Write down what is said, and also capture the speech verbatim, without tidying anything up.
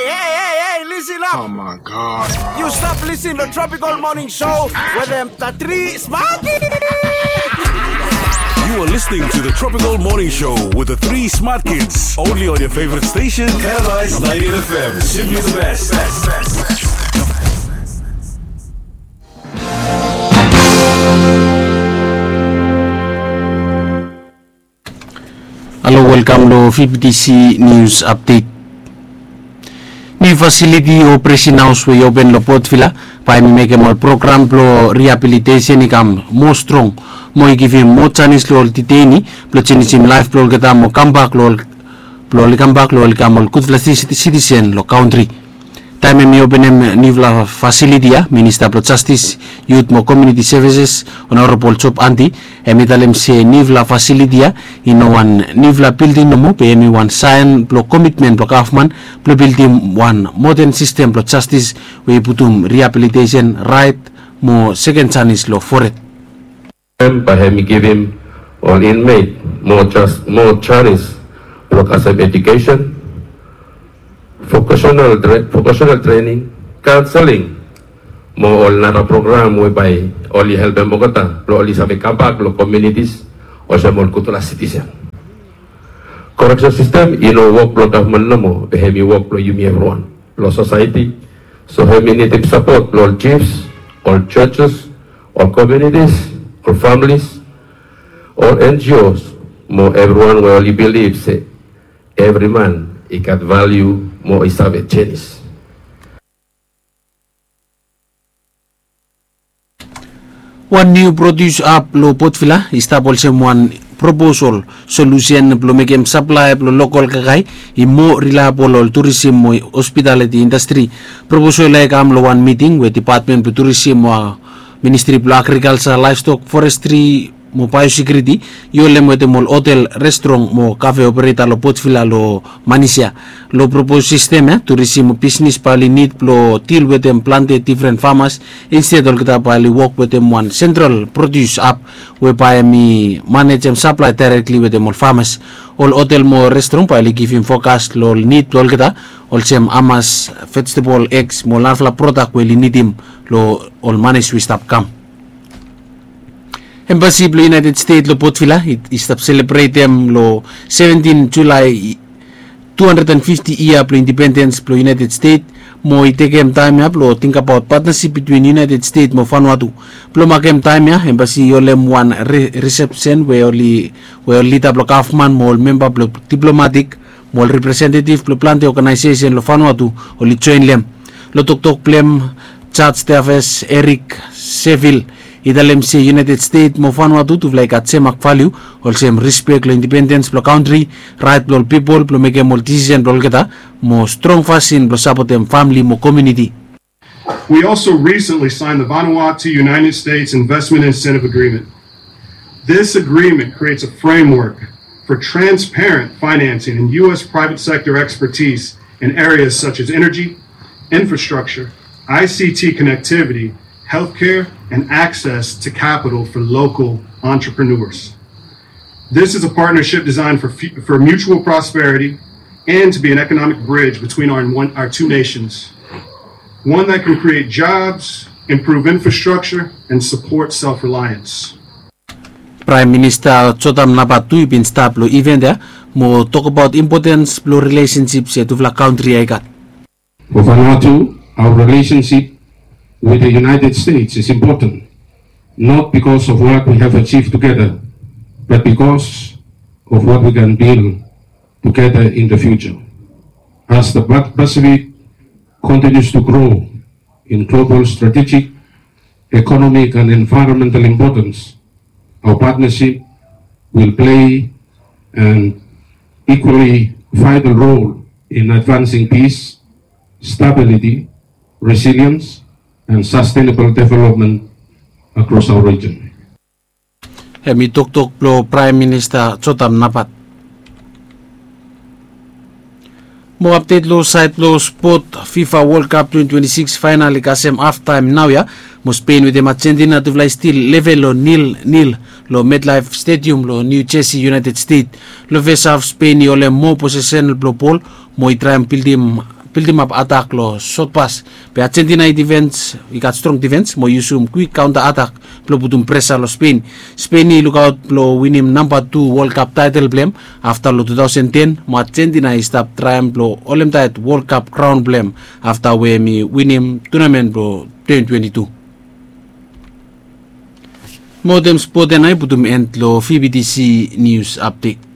Hey, hey, hey, listen up! Oh my God. You stop listening to Tropical Morning Show with them the three smart kids. You are listening to the Tropical Morning Show with the three smart kids, only on your favorite station, Paradise ninety-eight F M. Simply the best. Halo, welkam long F B T C News Update. Niu fasiliti o Presin Haos we i open long Port Vila bae hemi mekem ol program blong rehabilitation i kam moa strong mo i givim moa janis long ol detainee blong jenisim laef blong olgeta mo kambak long ol blong oli kambak long oli kam ol gudfala siti- sitisen long kantri. Taem hemi openem niufala fasiliti ya, Minista blong Jastis, Yut mo Komuniti Sevises, Honorabol Job Anti, hemi talem se niufala fasiliti ya i no wan niufala bilding nomo, be hemi wan saen blong komitmen blong gavman blong bildim wan moden sistem blong jastis we i putum rehabilitation, raet mo seken janis long fored. Bae hemi givim ol inmeit moa janis blong kasem ejukesen, vokasenal trening, kaonseling mo ol nara program we bae oli helpem olgeta blong oli save kambak long komunitis olsem ol gudfala sitisen. Koreksen sistem i no wok blong gavman nomo, be hemi wok blong yumi evriwan long sosaeti. So hemi nidim sapot blong ol jifs, ol jojes, ol komunitis, ol familis, ol N G Os mo evriwan we oli bilif se evri man i gat valiu mo i save jenis. Wan niu produs ap long Port Vila i stap olsem wan proposol solusen blong mekem saplae blong lokol kakae i moa rilaebol long ol turisim mo hospitaliti indastri. Proposol ya i kam long wan miting we depatmen blong turisim mo ministri blong agrikalsa, laevstok, forestri mo baeosekiuriti i holem wetem ol hotel, restrong mo kafe opereta long Port Vila long manis ya. Long propos sistem ya, turisim mo bisnis bae oli nid blong dil wetem plante difren famas, insted olgeta bae oli wok wetem wan sentral produs ap we bae hemi manejem saplae daerekli wetem ol famas. Ol hotel mo restrong bae oli givim fokas long ol nid blong olgeta, olsem hamas, vejetebol, eks mo ol narafala prodak we oli nidim long ol manis we i stap kam. Embasi blong United States long Port Vila i stap selebretem long seventin Julae tu handred and fifti yia blong indipendens blong United States, mo i tekem taem ya blong tingbaot patnasip bitwin United States mo Vanuatu. Blong makem taem ya, embasi i holem wan risepsen we ol lida blong gavman mo ol memba blong diplomatik mo ol representetif blong plante oganaesesen long Vanuatu oli joen long hem. Long toktok blong hem, Jaj Teafes Erik Sevil i talem se United States mo Vanuatu tufala i gat sem mak valiu, olsem rispek long indipendens blong kantri, raet blong ol pipol blong mekem ol disisen blong olgeta, mo strong fasin blong sapotem famle mo komuniti. We also recently signed the Vanuatu United States Investment Incentive Agreement. This agreement creates a framework for transparent financing and U S private sector expertise in areas such as energy, infrastructure, I C T connectivity, healthcare, and access to capital for local entrepreneurs. This is a partnership designed for, for mutual prosperity and to be an economic bridge between our, our two nations, one that can create jobs, improve infrastructure, and support self-reliance. Praem Minista Jotam Napat tu i bin stap long iven ya mo tokbaot impotens blong rilesensip se tufala kantri ya i gat. For Vanuatu, our relationship with the United States is important, not because of what we have achieved together, but because of what we can build together in the future. As the Pacific continues to grow in global strategic, economic, and environmental importance, our partnership will play an equally vital role in advancing peace, stability, resilience, and sustainable development across our region. Hemi toktok blong Praem Minista Jotam Napat. Mo apdet long saed blong spot, FIFA World Cup twenty twenty-six final i kasem haftaem naoia. Mo Spain wetem Argentina tufala i stil level long nil nil long MetLife Stadium long New Jersey, United States. Long fes haf, Spain i holem moa posesen blong bol mo i traem bildim bildimap atak long sotpas. Be Argentina i difens, i gat strong difens mo i yusum kwik kaonta atak blong putum presa long Spen. Spen i lukaot blong winim namba tu Wol Kap taetel blong hem afta long tu taosen ten, mo Argentina i stap traem blong holemtaet Wol Kap kraon blong hem afta we hem i winim tunamen blong twenty twenty-two. Mo wetem spot ya nao i putum en long V B T C nius apdet.